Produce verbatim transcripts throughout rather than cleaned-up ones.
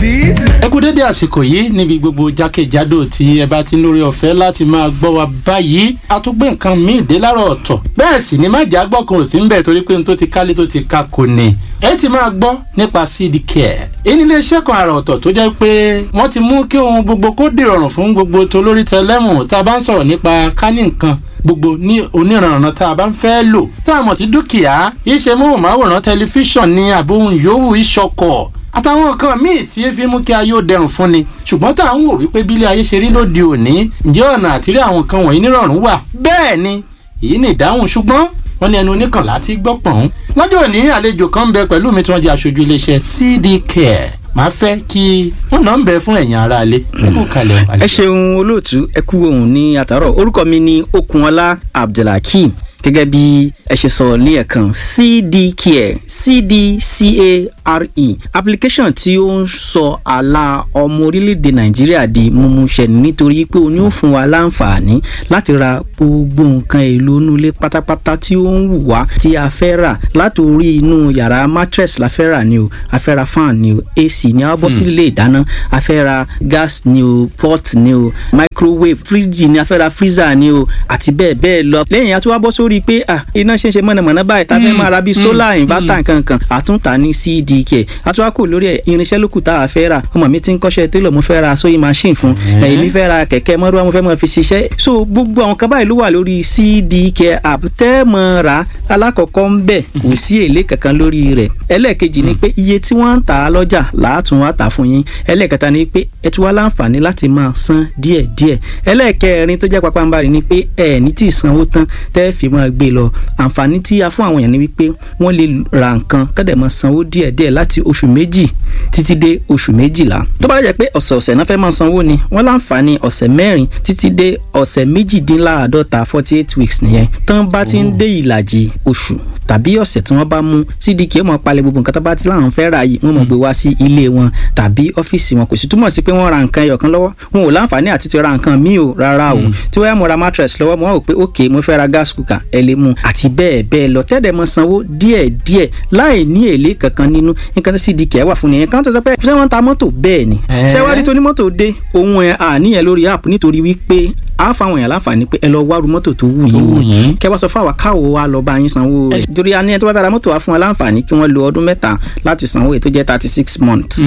Ẹ kú dédé àsìkò yìí níbi gbogbo jákèjádò tí ẹ bá ti ń lórí ọ̀fẹ́ láti máa gbọ́ wa báyìí. A tún gbé nǹkan míì dé láàárọ̀ ọ̀tọ̀, bẹ́ẹ̀ sì ni májà gbọ́ kan ò sí ń bẹ̀, torí pé n tó ti kálé tó ti ka kò ní. Ẹ ti máa gbọ́ nípa C D Care. Èyí ni iléeṣẹ́ kan àrà ọ̀tọ̀ tó jẹ́ pé wọ́n ti mú kí ohun gbogbo kó dìrọ̀rùn fún gbogbo tolórí tẹlẹ́mù tá a bá ń sọ̀rọ̀ nípa kání nǹkan gbogbo ní oníranran tá a bá ń fẹ́ lò tá a mọ̀ sí dúkìá, iṣẹ́ móhùnmáwòrán, tẹlifíṣàn ní àbóhùn yòówù, ìṣọkọ̀ àtàwọn nǹkan míì tí e fi mú kí ayé ó dẹrùn fún ni. Ṣùgbọ́n tá à ń wò wípé bílé ayé ṣe rí lóde òní, ǹjẹ́ ọ̀nà àtìrí àwọn nǹkan wọ̀nyí nírọ̀rùn wà? Bẹ́ẹ̀ ni, èyí ni ìdáhùn. Ṣùgbọ́n wọ́n ní ẹnu oníkànlá ti gbọ́ pọ̀n. Lọ́jọ́ òní, àlejò kan ń bẹ pẹ̀lú mi tí wọ́n jẹ́ aṣojú iléeṣẹ́ C D Care. Màá fẹ́ kí wọ́n náà ń bẹ fún ẹ̀yin aráalé. Ẹ kú kalẹ̀. Ẹ ṣeun olóòtú, ẹ kú ohùn ní àtàárọ̀. Orúkọ mi ni Okunọlá Abdulhakeem. Gẹ́gẹ́ bí ẹ ṣe sọ ní ẹ̀kan, C D Care, C D C A R E, application tí ó ń sọ àlà ọmọ orílẹ̀-èdè Nàìjíríà di mímúṣẹ, nítorí pé ó ní ó fún wa láǹfààní láti ra gbogbo nǹkan èlò inú ilé pátápátá tí ó ń wù wá tí a fẹ́ rà. Látòrí inú yàrá, mattress la fẹ́ rà ni o, a fẹ́ ra fan ni o, A C ni, a bọ́ sí ilé ìdáná, a fẹ́ ra gas ni o, pot ni o, microwave, fridge ni, a fẹ́ ra freezer ni o, àti bẹ́ẹ̀ bẹ́ẹ̀ lọ. Lẹ́yìn a tún wá bọ́ sórí pé ah, iná ṣe ń ṣe mọ̀nàmọ́ná báyìí, tá a fẹ́ máa ra bíi solar inverter nkankan, àtúntà ní C D K. Àtúwá kò lórí ẹ̀, irinṣẹ́ lókù tá a fẹ́ rà. Ọmọ mi ti ń kọ́ṣẹ́ télọ̀, mo fẹ́ ra sewing machine fún èmi, fẹ́ ra kẹ̀kẹ́ mọ́rúwá, mo fẹ́ máa fi ṣiṣẹ́. So gbogbo àwọn kan báyìí ló wà lórí C D K app tẹ́ mọ́ ra. Alákọ̀ọ́kọ́ ń bẹ̀, kò sí èlé kankan lórí rẹ̀. Ẹlẹ́ẹ̀kejì ni pé iye tí wọ́n ń tà á lọ́jà làátún wá tà fún yín. Ẹlẹ́ẹ̀kẹta ni pé ẹ tún wá láǹfààní láti máa san díẹ̀díẹ̀. Ẹlẹ́ẹ̀kẹrin tó jẹ́ pàpàǹbarì ni pé ẹ ní tí ì sanwó tán tẹ́ fi máa gbé lọ. Àǹfààní tí a fún àwọn èèyàn ni wípé wọ́n lè ra nǹkan kọ́dẹ̀ máa sanwó díẹ̀díẹ̀ láti oṣù méjì títí dé oṣù méjìlá. Tó bá dẹ̀ jẹ́ pé ọ̀sẹ̀ọ̀sẹ̀ náà fẹ́ máa sanwó ni, wọ́n láǹfààní ọ̀sẹ̀ mẹ́rin títí dé ọ̀sẹ̀ méjìdínláàádọ́ta, forty eight weeks nìyẹn. Tán bá ti ń dé ìlàjì oṣù tàbí ọ̀sẹ̀ tí wọ́n bá mú, C D K ó máa palẹ̀ gbogbo nǹkan tó bá ti láwọn fẹ́ rà yìí, wọ́n máa gbé wá sí ilé wọn tàbí ọ́fíìsì wọn. Kò sì túmọ̀ sí pé wọ́n ra nǹkan ẹyọ̀kan lọ́wọ́, wọn ò láǹfààní àti ti ra nǹkan míì o, rárá o. Tí wọ́n yá mo ra mattress lọ́wọ́, mo wá wò pé ok, mo fẹ́ ra gas cooker, ẹ lè mú, àti bẹ́ẹ̀ bẹ́ẹ̀ lọ, tẹ́lẹ̀ mọ sanwó díẹ̀ díẹ̀ láì ní èlé kankan nínú. Nǹkan tí C D K wà fún nìyẹn. Kan tó sọ pé ṣé wọ́n ń ta mọ́tò? Bẹ́ẹ̀ ni. Ṣé wá rí tó ní mọ́tò dé ohun ẹ̀ àníyàn lórí app, nítorí wípé a fáwọn èèyàn láǹfààní pé ẹ lọ wárú mọ́tò tó wù yín wò, kẹ wá sọ fún àwa káwo wa lọ bá yín sanwó rẹ̀, torí a ní ẹni tó bá fẹ́ ra mọ́tò wa fún wa láǹfààní kí wọ́n lo ọdún mẹ́ta láti sanwó èyí tó jẹ́ thirty six months.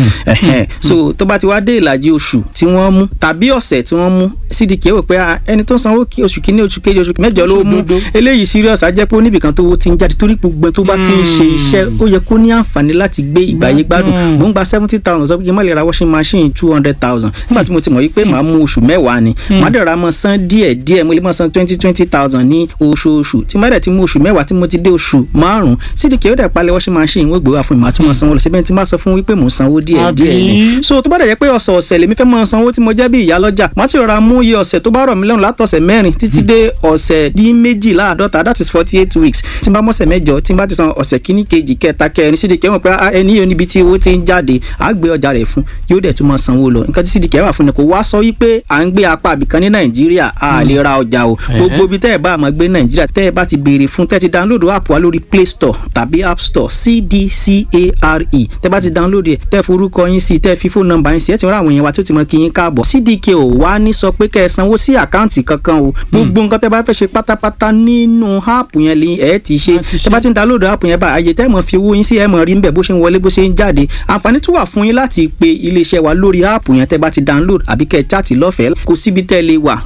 So tó bá ti wá dé ìlàjì oṣù tí wọ́n mú tàbí ọ̀sẹ̀ tí wọ́n mú, C D K wò pé ẹni tó sanwó oṣù kínní, oṣù kejì, oṣù mẹ́jọ ló mú eléyìí serious, á jẹ́ pé oníbìkan tó ti ń jáde, torí gbogbo tó bá ti ń ṣe iṣẹ́, ó yẹ kó ní àǹfààní láti gbé ìgbàyé gbádùn. Mò ń gba seventy thousand, sọ pé kí n má lè ra washing machine two hundred thousand, nígbà tí mo ti mọ̀ wípé màá mú oṣù mẹ́wàá ni, màá dẹ̀ ra mọ́ san díẹ̀ díẹ̀, mo lè máa san twenty twenty thousand ní oṣooṣù. Tí má dẹ̀ ti mú oṣù mẹ́wàá, tí mo ti dé oṣù márùn-ún, C D K ó dẹ̀ palẹ̀ washing machine, wọ́n gbé wá fún mi, màá tún máa sanwó lọ síbẹ̀. Tí má sọ fún wípé mò ń sanwó díẹ̀ díẹ̀ ni. So tó bá dẹ̀ jẹ́ pé ọ̀sẹ̀ ọ̀sẹ̀ lèmi fẹ́ máa sanwó tí mo jẹ́ bí ìyá lọ́jà, màá ti rọra mú iye ọ̀sẹ̀ tó bá rọ̀ mí lọ́rùn látọ̀sẹ̀ mẹ́rin títí dé ọ̀sẹ̀ dín méjìláàdọ́ta, that is forty eight weeks. Tí n bá mọ̀sẹ̀ mẹ́jọ, tí n bá ti san ọ̀sẹ̀ kíní, kejì, kẹta, kẹrin, C D K mọ̀ pé ẹni yóò níbi tí owó ti ń jáde, á gbé ọjà rẹ̀ fún, yóò dẹ̀ tún máa sanwó lọ. Nǹkan tí C D K wà fún ni kò wá sọ wípé à ń gbé apá àbìkan ní Nàìjíríà a lè ra ọjà o. Gbogbo ibi tẹ́ ẹ bá máa gbé Nàìjíríà, tẹ́ ẹ bá ti béèrè fún, tẹ́ ẹ ti download app wa lórí Play Store tàbí App Store, C D C A R E, tẹ́ bá ti download ẹ̀, tẹ́ forúkọ yín sí, tẹ́ fi fóònù nọ́mbà yín sí, ẹ ti rán àwọn èèyàn wa tó ti mọ kí yín káàbọ̀. C D K ò wá ní sọ pé kẹ́ ẹ sanwó sí àkáǹtì kankan o. Gbogbo nǹkan tẹ́ bá fẹ́ ṣe pátápátá nínú app yẹn lè ẹ ti ṣe. Tẹ́ bá ti ń download app yẹn bá, àyè tẹ́ mọ̀ fi owó yín sí, ẹ mọ̀ rí níbẹ̀ bó ṣe ń wọlé, bó ṣe ń jáde. Àǹfààní tún wà fún yín láti pe iléeṣẹ́ wa lórí app yẹn tẹ́ bá ti download, àbí kẹ́ ẹ chat lọ́fẹ̀ẹ́. Kò síbi tẹ́ lè wà.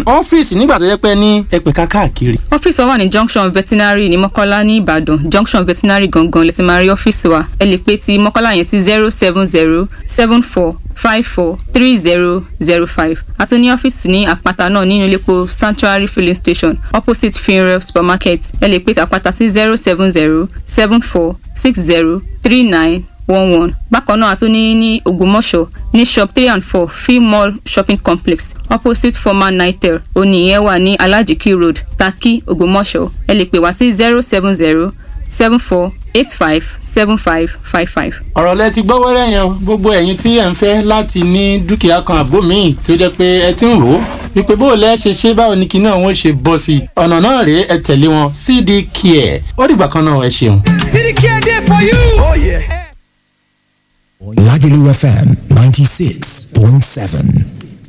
Ọ́fíìsì nígbà tó yẹ pé ní ẹ̀pẹ̀ka káàkiri. Ọ́fíìsì wa wà ní Junction Veterinary ní Mọ́kọ́lá ní Ìbàdàn. Junction Veterinary gangan lè ti máa rí ọ́fíìsì wa. Ẹ lè pè ti Mọ́kọ́lá yẹn sí zero seven zero seven four five four three zero zero five. A tún ní ọ́fíìsì ní Àpáta náà, nínú iléepo Sanctuary Filling Station, opposite Funeral Supermarket. Ẹ lè pè ti Àpáta sí zero seven zero seven four six zero three nine one one. Bákan náà, a tún ní ní Ògbómọ̀ṣọ́ ní shop three and four Free Mall Shopping Complex, opposite former Nitel, oníyẹn wà ní Alajiki Road, Taki, Ògbómọ̀ṣọ́. Ẹ lè pè wá sí zero seven zero seven four eight five seven five five five. Ọ̀rọ̀ lẹ ti gbọ́ wẹ́rẹ́ yẹn. Gbogbo ẹ̀yin tí ẹ̀ ń fẹ́ láti ní dúkìá kan àbó míì tó jẹ́ pé ẹ ti ń rò ó wípé bó o lẹ́ ṣe ṣe, báwo ni kinní ọ̀hún ṣe bọ́ sí i, ọ̀nà náà rèé, ẹ tẹ̀lé wọn, C D Care. Ó dìgbà kan náà, ẹ ṣeun. C D Care dey for you. Oh, yeah. Lagelu F M ninety-six point seven.